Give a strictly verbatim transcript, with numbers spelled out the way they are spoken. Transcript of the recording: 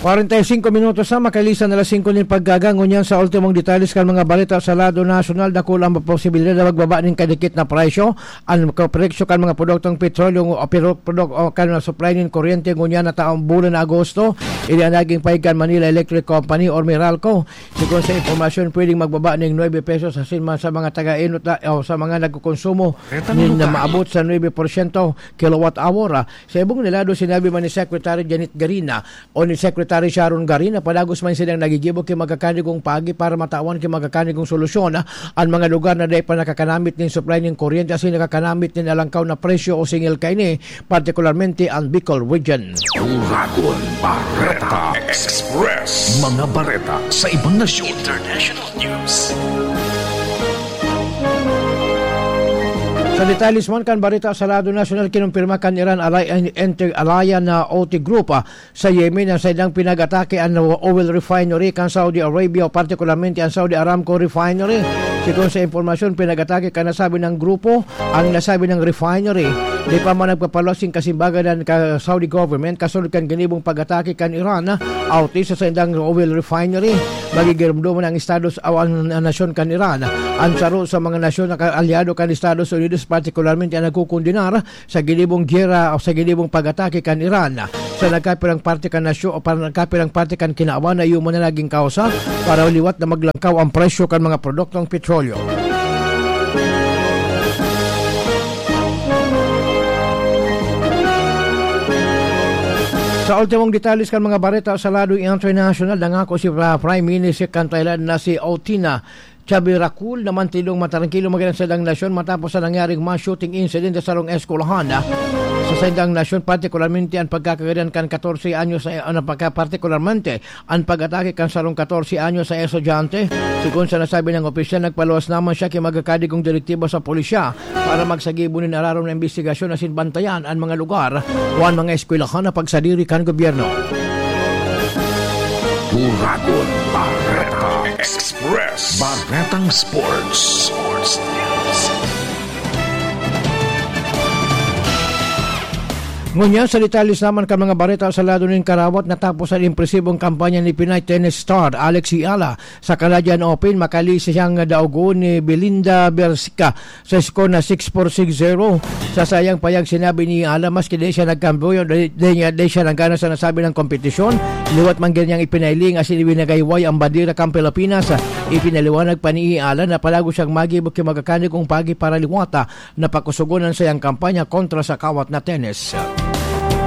Kwarenta y singko minutos na makalisan na alas singko nin pagkaga. Ngunyan sa ultimong detalles kan mga balita sa lado nasyonal, dakula ang posibilidad na magbaba nin kadikit na presyo. Ang presyo kan mga produktong petrolyo o pero-, produk-, o kan supply nin kuryente ngunyan na taong bulan na Agosto, ini ang naging pahayag kan Manila Electric Company or Meralco. Sigon sa impormasyon, pwedeng magbaba ning nuebe pesos asin ma-, sa mga taga-inot na, o sa mga nagkokonsumo Balita nin Lugar. Maabot sa nuebe porsyento kilowatt hour. Sa ibong na lado, sinabi man ni Secretary Janet Garina o ni Secretary Sharon Garina, padagos man silang nagigibo ki magkakanigong paagi para matawan ki magkakanigong solusyon an mga lugar na dai pa nakakanamit nin supply nin kuryente asin nakakanamit nin alangkaw na presyo o singil kaini, partikularmente an Bicol Region. Uragon Bareta Express. Mga bareta sa ibang nasyon. International news. Sa detalles man kan bareta sa lado nasyonal, kinumpirma kan Iran Alliance Inter-Alliance na O T Group, ah, sa Yemen ang saindang pinag-atake an oil refinery kan Saudi Arabia, o partikularmente an Saudi Aramco refinery. Sigon sa impormasyon, pinag-atake kan nasabing grupo ang nasabing refinery. Di pa man nagpapaluwas nin kasimbagan an ka-, Saudi government kasunod kan ginibong pag-atake kan Iran, ah, Houthi sa saindang oil refinery. Magigiromdoman ang Estados o ang, ang nasyon kan Iran. Ang saro sa mga nasyon na kaalyado kan Estados Unidos, partikularmente ang nagkukondenar sa ginibong giyera o sa ginibong pag-atake kan Iran sa nagkapirang parte kan nasyon o para nagkapirang parte kan kinaban na iyo man na naging kausa para liwat na maglangkaw ang presyo kan mga produktong petrolyo. Sa ultimong detalles kan mga bareta sa lado international, nangako si Pra-, Prime Minister kan Thailand na si Otina Chabirakul na mantilong matrangkilo magin ang saindang nasyon matapos sa nangyaring mass shooting incident sa sarong eskwelahan sa saindang nasyon, partikularmente an pagkakagadan kan katorse anyos na, ano, pagka-, partikularmente an pag-atake kan sarong katorse anyos na estudyante. Sigon sa nasabi ng opisyal, nagpaluwas naman siya ki magkakanigong direktiba sa pulisya para magsagibo nin ararom na imbestigasyon asin bantayan an mga lugar o an mga eskwelahan na pagsadiri kan gobyerno. Uragon Bareta Express. Baretang Sports. Sports News. Ngunyan, sa detalles naman kan mga bareta sa lado nin karawat, natapos an impresibong kampanya ni Pinay tennis star Alex Eala sa Canadian Open. Makali siyang daogon ni Belinda Bersica sa score na six four, six zero. Sa saiyang payag, sinabi ni Eala, maski di siya nagkambuyo, di, di niya, di siya nagana sa nasabi ng kompetisyon, liwat man gid niyang ipinailing asin ibinagayway ang bandera kan Pilipinas. Ipinaliwanag pa ni Eala na palagi siyang magibo ki magkakanigong paagi para liwata na pakusogon an saiyang kampanya kontra sa kawat na tennis.